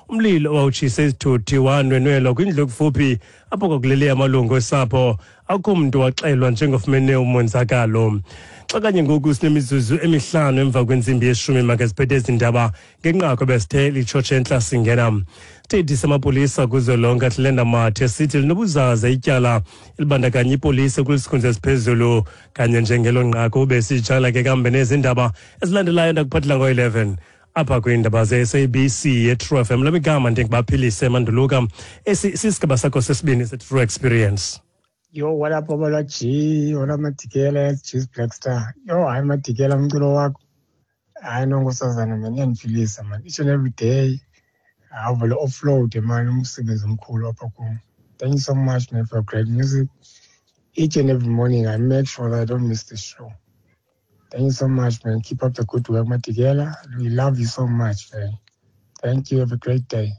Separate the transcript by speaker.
Speaker 1: Umlilo owawutshise izithuthi wanwenwelwa kwindlu ekufuphi apho kwakulele amalungu osapho. Akukho mntu waxelwa njengofumene umonzakalo. Xa kanye ngoku sinemizuzu emihlanu emva kwentsimbi yeshumi, makaziphethe ezi ndaba ngenqaku ebesithe litshotshe entla singena. Isithethi samapolisa kuzwelonke Atlenda Mathe sithi linobuzaza ityala elibandakanya ipolisa kwisikhundla esiphezulu. Kanye njengelo nqaku besitshala ke kambe nezi ndaba ezilandelayo ndakuphathela ngo-11 apha kwiindaba ze-SABC ye-True FM. Lamigama ndingubaphilise Manduluka. Esi sisigaba sakho sesibini se-True Experience.
Speaker 2: Yo, what up, Obala G? What up, Madikela? G's Black Star. Yo, hayi Madikela, umculo wakho. Hayi nonkosazana man, iyandiphilisa man. Each and every day. Awuvele offload man, umsebenzi omkhulu apha kum. Thank you so much man for great music. Each and every morning I make sure that I don't miss the show. Thank you so much man. Keep up the good work, Madikela. We love you so much man. Thank you. Have a great day.